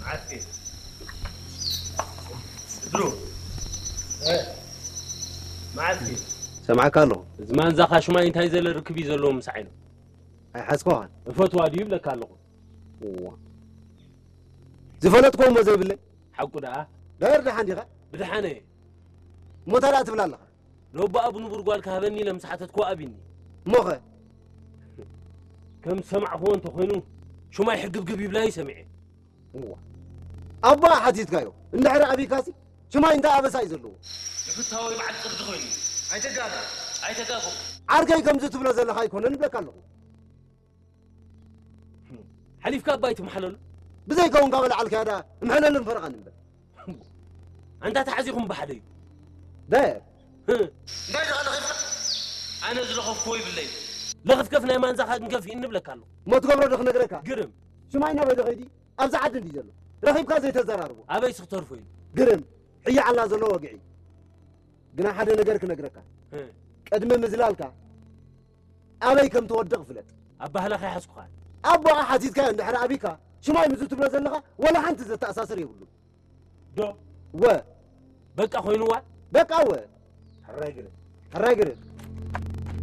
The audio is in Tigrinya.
መዓልቲ። ድሮ። እ። መዓልቲ። ሰማዕካ ኣለኹ። እዚ ማንዛኻ ሽማይ እንታይ ዘለ ርክብ እዩ ዘለዎ ምሳዕ ኢሉ? ኣይሓዝኮኻን። እፈትዋ ድዩ ይብለካ ኣለኹ። እዋ። ዝፈለጥኮ እሞ ዘይብለይ። ሓቁ ደኣ? ዳየር ደሓን ዲኻ? ብደሓነ እየ። እሞ እንታይ ደኣ ትብል ኣለኻ? ነቦኣ ብንቡር ጓል ክሃበኒ ኢለ ምስ ሓተትኩ ኣቢኒ። እሞኸ? ከም ዝሰማዕኽዎ እንተኾይኑ፣ ሽማይ ሕግብግብ ይብላ እዩ ሰሚዐ። እዋ። ኣቦኣ ሓቲትካዮ፣ እንድሕሪ ኣቢካሲ፣ ሽማይ እንታይ ኣበሳ እዩ ዘለዎ? ንፍታወይ በዓል ቅርዲ ኮይኑ። ኣይተጋገ። ኣይተጋገ። ዓርከይ ከምዚ ትብሎ ዘለኻ ኣይኮነን እብለካ ኣለኹ። ሓሊፍካ ኣባይ ትምሓለሉ? ብዘይከውን ካብ ኣልዓልካያ ደኣ እምሐለልን ፈረቓን እምበር። ኣንታ ተሓዚኹም ብሓደ እዩ። ዳየር። ህእ። እንታይ ደኣ ለኺፍካ? ኣነ ዝለኸፍክዎ ይብለይ። ለኽፍከፍ ናይ ማንዛኻ ክንከፍ ይእኒ እብለካ ኣለኹ። እሞ ትገብሮ ዶ ክነግረካ? ግርም። ሽማይ ናበይ ዶ ኸይዲ? ኣብዚ ዓዲ እንዲ ዘሎ። ረኺብካ ዘይተዘራርቦ። ኣበይ ስኽተርፎ እዩ? ግርም። ሕያዓላ ዘሎ ወግዒ። ግና ሓደ ነገር ክነግረካ። እ። ቅድሚ ምዝላልካ ኣበይ ከም ትወድቕ ፍለጥ። ኣብ ባህላኻ ይሓዝኩኻ። ኣቦኣ ሓቲትካዮ እንድሕር ኣቢካ፣ ሽማይ ምዚ ትብሎ ዘለኻ ወላ ሓንቲ ዘተኣሳስር የብሉን። ዶ? ወ። በቃ ኮይኑዋ? በቃ ወ። ሕራይ ግርም። ሕራይ ግርም።